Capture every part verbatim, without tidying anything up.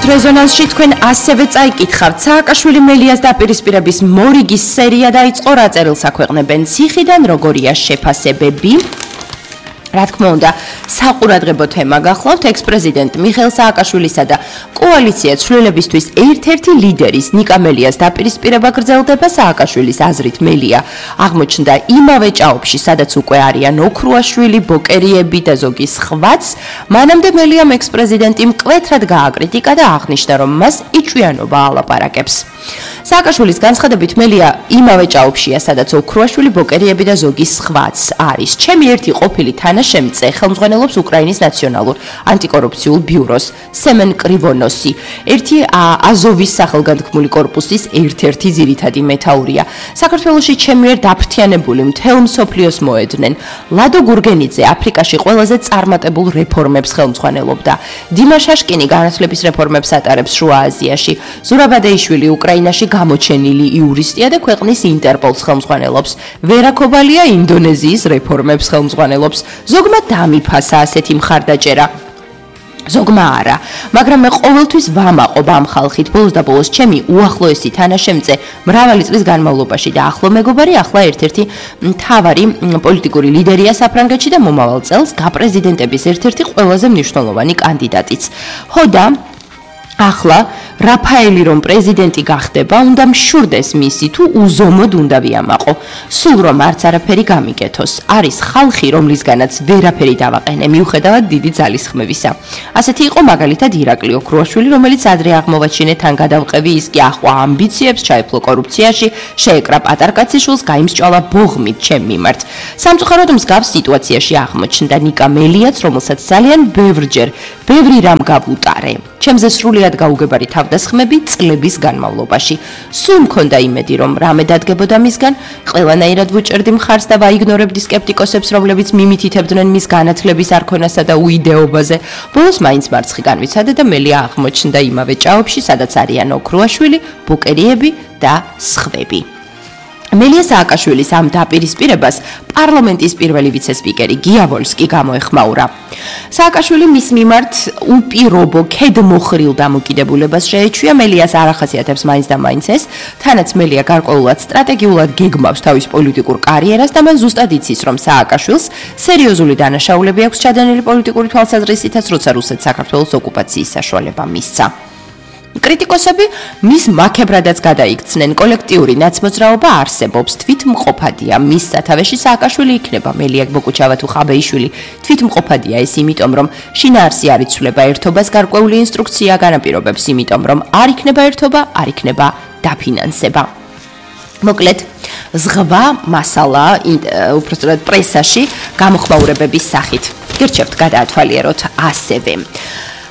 რეზონანსში თქვენ ასევე წაიკითხავთ სააკაშვილი მელიას დაპირისპირების მორიგის სერია დაიწყო, რა წერილს აქვეყნებენ ციხიდან, როგორია შეფასებები. რა თქმა უნდა, საყურადღებო თემა გახლავთ ექს-პრეზიდენტ მიხეილ სააკაშვილისა და კოალიცია ცვლილებისთვის ერთ-ერთი ლიდერის ნიკა მელიას დაპირისპირება გრძელდება. სააკაშვილის აზრით მელია აღმოჩნდა იმავე ჭაობში, სადაც უკვე არიან ოქრუაშვილი, ბოკერიები და ზოგი სხვაც. მანამდე მელიამ ექს-პრეზიდენტი მკვეთრად გააკრიტიკა და აღნიშნა, რომ მას იჭვიანობა ალაპარაკებს. სააკაშვილის განცხადებით მელია იმავე ჭაობშია, სადაც ოქრუაშვილი, ბოკერიები და ზოგი სხვაც არის. ჩემი ერთი ყოფილი თანაშემწე ხელმძღვანელობს უკრაინის ნაციონალურ ანტიკორუფციულ ბიუროს სემენ კრივონოსი. ერთი აზოვის სახელგანთქმული კორპუსის ერთ-ერთი ძირითადი მეთაურია. საქართველოში ჩემი მიერ დაფრთიანებული მთელ მსოფლიოს მოედნენ. ლადო გურგენიძე აფრიკაში ყველაზე წარმატებულ რეფორმებს ხელმძღვანელობდა. დიმა შაშკინი განათლების რეფორმებს ატარებს შუა აზიაში. ზურაბადეიშვილი უკრაინაში გამოჩენილი იურისტია და ქვეყნის ინტერპოლს ხელმძღვანელობს. ვერა ქობალია ინდონეზიის რეფორმებს ხელმძღვანელობს. ზოგმა დამიფასა ასეთი მხარდაჭერა. ზოგმა არა, მაგრამ მე ყოველთვის ვამაყობ ამ ხალხით. ბოლოს და ბოლოს ჩემი უახლოესი თანაშემწე მრავალი წლის განმავლობაში და ახლო მეგობარი ახლა ერთ-ერთი მთავარი პოლიტიკური ლიდერია საფრანგეთში და მომავალ წელს გაპრეზიდენტების ერთ-ერთი ყველაზე მნიშვნელოვანი კანდიდატიც. ხოდა ახლა რაფაელი რომ პრეზიდენტი გახდება, უნდა მშურდეს მისი თუ უზომოდ უნდა ვიამაყო. სულ რომ არც არაფერი გამიკეთოს. არის ხალხი, რომლისგანაც ვერაფერი დავაყენე, მიუხედავად დიდი ძალისხმევისა. ასეთი იყო მაგალითად ირაკლი ოქრუაშვილი, რომელიც ადრე აღმოვაჩინე თან გადავყევი, ის კი ახლა ამბიციებს ჩაეფლო კორუფციაში, შეეკრა პატარკაციშვილს, გაიმსჭვალა ბოღმით ჩემ მიმართ. სამწუხაროდ მსგავს სიტუაციაში აღმოჩნდა ნიკა მელიაც, რომელსაც ძალიან ბევრჯერ, ბევრი რამ გავუტარე. ჩემზე სრულიად გაუგებარი თავდასხმები წლების განმავლობაში. სულ მქონდა იმედი, რომ რამე დადგებოდა მისგან, ყველანაირად ვუჭერდი მხარს და ვაიგნორებდი სკეპტიკოსებს, რომლებიც მიმითითებდნენ მის განათლების არქონასა და უიდეობაზე. ბოლოს მაინც მარცხი განვიცადა და მელია აღმოჩნდა იმავე ჭაობში, სადაც არიან ოქრუაშვილი, ბუკერიები და სხვები. მელია სააკაშვილის ამ დაპირისპირებას პარლამენტის პირველი ვიცე-სპიკერი გია ვოლსკი გამოეხმაურა. სააკაშვილი მის მიმართ უპირობო ქედმოხრილ დამოკიდებულებას შეეჩვია. მელიას არ ახასიათებს მაინც და მაინც ეს, თანაც მელია გარკვეულად სტრატეგიულად გეგმავს თავის პოლიტიკურ კარიერას და მან ზუსტად იცის, რომ სააკაშვილს სერიოზული დანაშაულები აქვს ჩადენილი პოლიტიკური თვალსაზრისითაც, როცა რუსეთს საქართველოს ოკუპაციის საშუალება მისცა. კრიტიკოსები მის მაქებრადაც გადაიქცნენ. კოლექტიური ნაცმოძრაობა არსებობს, თვითმყოფადია. მის სათავეში სააკაშვილი იქნება. მელია ბოკუჩავა თუ ხაბეიშვილი თვითმყოფადია ეს იმიტომ, რომ შინაარსი არ იცვლება ერთობას, გარკვეული ინსტრუქცია განაპირობებს იმიტომ, რომ არ იქნება ერთობა, არ იქნება დაფინანსება. მოკლედ, ზღვა მასალა უпростоრად პრესაში გამოხმაურებების სახით. გირჩევთ გადაათვალიეროთ ასევე.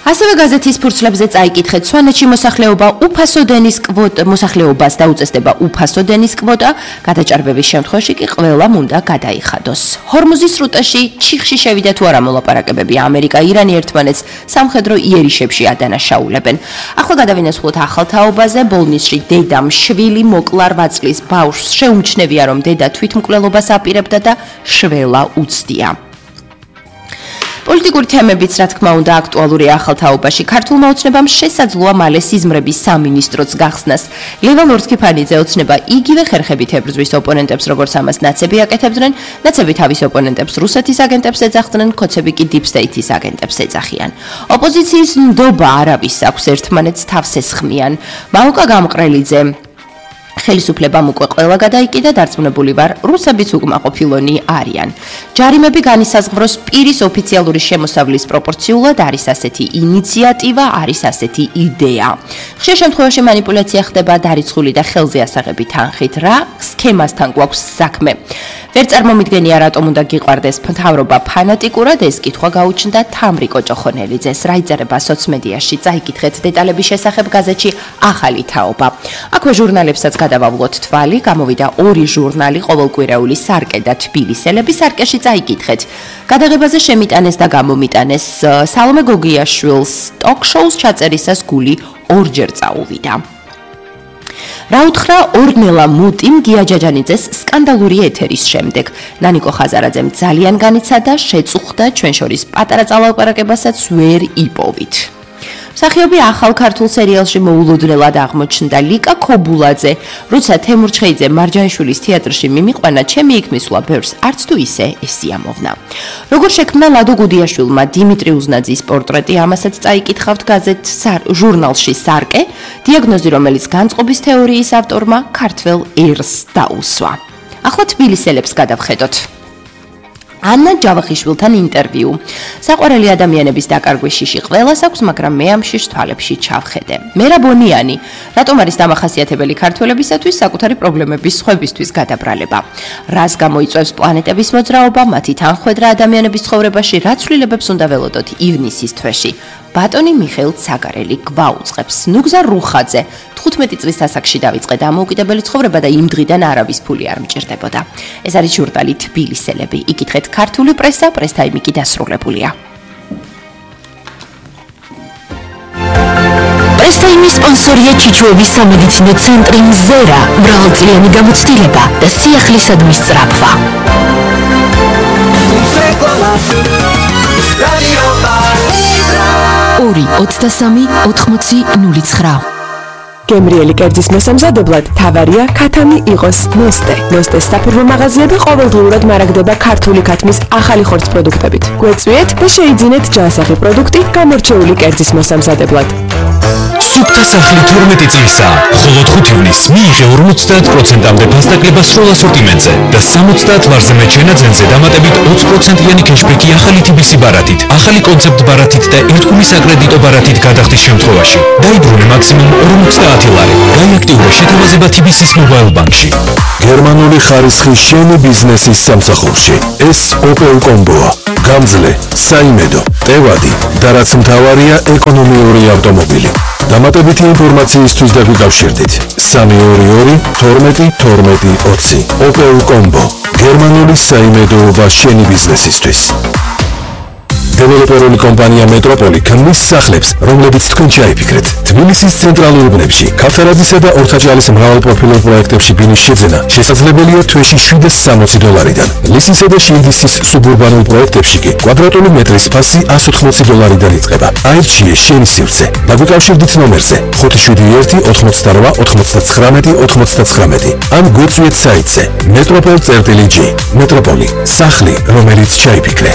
ასევე გაზეთის ფურცლებზე წაიკითხეთ, სვანეთში მოსახლეობა უფასო დენის კვოტა, მოსახლეობას დაუწესდება უფასო დენის კვოტა, გადაჭარბების შემთხვევაში კი ყველამ უნდა გადაიხადოს. ჰორმუზის სრუტეში ჩიხში შევიდა თუ არა მოლაპარაკებები, ამერიკა, ირანი ერთმანეთს სამხედრო იერიშებში ადანაშაულებენ. ახლა გადავინაცვლოთ ახალ თაობაზე, ბოლნისში დედამ შვილი მოკლა რვა წლის ბავშვს, შეუმჩნევია რომ დედა თვითმკვლელობას აპირებდა და შველა უცდია. პოლიტიკური თემებიც, რა თქმა უნდა, აქტუალურია ახალ თაობაში. ქართულმა ოცნებამ შესაძლოა მალე სიზმრების სამინისტროც გახსნას. ლევან ორთქიფანიძე ოცნება იგივე ხერხებით ებრძვის ოპონენტებს, როგორც ამას ნაცები აკეთებდნენ. ნაცები თავის ოპონენტებს რუსეთის აგენტებს ეძახდნენ, ქოცები კი დიპ სტეითის აგენტებს ეძახიან. ოპოზიციის ნდობა არავის აქვს, ერთმანეთს თავს ესხმიან. მაუკა გამყრელიძე ხელისუფლებამ უკვე ყველა გადაიკიდა, დარწმუნებული ვარ, რუსებიც უკმაყოფილონი არიან. ჯარიმები განისაზღვროს პირის ოფიციალური შემოსავლის პროპორციულად, არის ასეთი ინიციატივა, არის ასეთი იდეა. ხშირ შემთხვევაში მანიპულაცია ხდება დარიცხული და ხელზე ასაღები თანხით, რა სქემასთან გვაქვს საქმე. ვერ წარმომიდგენია, რატომ უნდა გიყვარდეს მთავრობა ფანატიკურად, ეს კითხვა გაუჩნდა თამრიკო ჭოხონელიძეს. რა იწერება სოციმედიაში, წაიკითხეთ დეტალების შესახებ გაზეთში ახალი თაობა. აქვე ჟურნალებსაც გადავავლოთ თვალი, გამოვიდა ორი ჟურნალი, ყოველკვირეული სარკე და თბილისელები. სარკეში წაიკითხეთ. გადაღებაზე შემიტანეს და გამომიტანეს სალომე გოგიაშვილს ტოკ-შოუს ჩაწერისას გული ორჯერ წაუვიდა. რა უთხრა ორნელა მუტიმ გია ჯაჯანიძეს სკანდალური ეთერის შემდეგ. ნანიკო ხაზარაძემ ძალიან განიცადა, შეწუხდა, ჩვენ შორის პატარა წალაპარაკებასაც ვერ იპოვით. მსახიობი ახალ ქართულ სერიალში მოულოდნელად აღმოჩნდა ლიკა ქობულაძე. როცა თემურ ჩხეიძე მარჯანიშვილის თეატრში მიმიყვანა, ჩემი იქ მისვლა ბევრს არც თუ ისე ესიამოვნა. როგორ შექმნა ლადო გუდიაშვილმა დიმიტრი უზნაძის პორტრეტი, ამასაც წაიკითხავთ გაზეთ ჟურნალში სარკე, დიაგნოზი, რომელიც განწყობის თეორიის ავტორმა ქართველ ერს დაუსვა. ახლა თბილისელებს გადავხედოთ. ანა ჯავახიშვილთან ინტერვიუ. საყვარელი ადამიანების დაკარგვის შიში ყველას აქვს, მაგრამ მე ამ შიშ თვალებში ჩავხედე. მერა ბონიანი, რატომ არის დამახასიათებელი ქართველებისათვის საკუთარი პრობლემების სხვებისთვის გადაბრალება? რას გამოიწვევს პლანეტების მოძრაობა, მათი თანხვედრა ადამიანების ცხოვრებაში, რა ცვლილებებს უნდა ველოდოთ ივნისის თვეში? ბატონი მიხეილ ცაგარელი გვაუწყებს. ნუგზა რუხაძე თხუთმეტი წლის ასაკში დავიწყე დამოუკიდებელი ცხოვრება და იმ დღიდან არავის ფული არ მჭირდებოდა. ეს არის ჟურნალი თბილისელები. იკითხეთ ქართული პრესა, პრესტაიმი კი დასრულებულია. პრესტაიმის სპონსორია ჩიჩუების სამედიცინო ცენტრი მზერა, მრავალწლიანი გამოცდილება და სიახლისადმის სწრაფვა. ორი ოცდასამი ოთხმოცი ნული ცხრა. გემრიელი კერძის მოსამზადებლად თავარია ქათამი იყოს ნოსტე. ნოსტეს საფურმო მაღაზიები ყოველდღიურად მარაგდება ქართული ქათმის ახალი ხორცს პროდუქტებით. გვეწვიეთ და შეიძინეთ ჯანსაღი პროდუქტი გამორჩეული კერძის მოსამზადებლად. სუფთა სახლი თორმეტი წლისა, ხოლო ხუთი ივნისს მიიღე ორმოცდაათ პროცენტამდე დასაკლება სრულ ასორტიმენტზე და სამოცდაათ ლარზე მეტ შენაძენზე დამატებით ოცი პროცენტიანი კეშბექი ახალი თიბისი ბარათით, ახალი კონცეპტ ბარათით და ერთგული საკრედიტო ბარათით გადახდის შემთხვევაში. დაიბრუნე მაქსიმუმ ორმოცდაათი ლარი. გაიაქტიურე შეთავაზება თიბისის მობაილ ბანკში. გერმანული ხარისხის შენი ბიზნესის სამსახურში. ეს ოპელ კომბოა. გამძლე, საიმედო, ტევადი და რაც მთავარია ეკონომიური ავტომობილი. დამატებითი ინფორმაციისთვის დაგვიკავშირდით სამი ორი ორი თორმეტი თორმეტი ოცი. ოპელ კომბო. გერმანული საიმედოობა შენი ბიზნესისთვის. დეველოპერული კომპანია მეტროპოლი ქმნის სახლებს, რომლებიც თქვენ ჩაიფიქრეთ. თბილისის ცენტრალურ უბნებში, ქავთარაძისა და ორთაჭალის მრავალპროფილურ პროექტებში ბინის შეძენა შესაძლებელია თვეში შვიდას სამოცი დოლარიდან. ლისისა და შილდისის სუბურბანულ პროექტებში კი კვადრატული მეტრის ფასი ასი ოცდაოთხი დოლარიდან იწყება. აირჩიე შენი სივრცე. დაგვიკავშირდით ნომერზე ხუთი შვიდი ერთი ოთხმოცდარვა ოთხმოცდათხრამეტი ოთხმოცდათხრამეტი. ან გვეწვიეთ საიტზე მეტროპოლ წერტილი ჯი. მეტროპოლი, სახლი, რომელიც ჩაიფიქრე.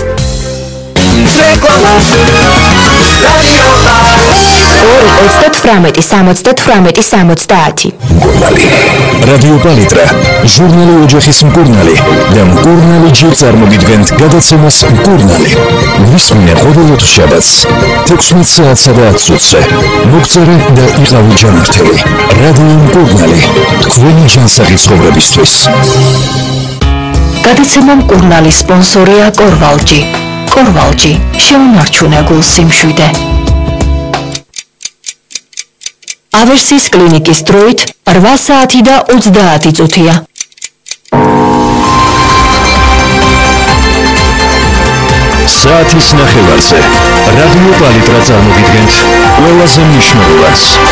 ორი ოცდათვრამეტი სამოცდათვრამეტი სამოცდაათი. მკურნალი. რადიო პალიტრა, ჟურნალი ოჯახის მკურნალი და მკურნალი ჯი წარმოგიდგენთ გადაცემას მკურნალი. ვისმინე ყოველოთ შაბათს თექვსმეტ საათსა და ათს ოცზე. მოგწერე და იყავი ჯანმრთელი. რადიო მკურნალი, თქვენი ჯანსაღი ცხოვრებისთვის. გადაცემა მკურნალის სპონსორია კორვალჯი. კორვალჯი, შეუნარჩუნე გულ სიმშვიდე. ავერსის კლინიკის დროით რვა საათი და ოცდაათი წუთია. საათის ნახევარზე რადიო პალიტრა წარმოგიდგენთ ყველაზე მნიშვნელოვანს.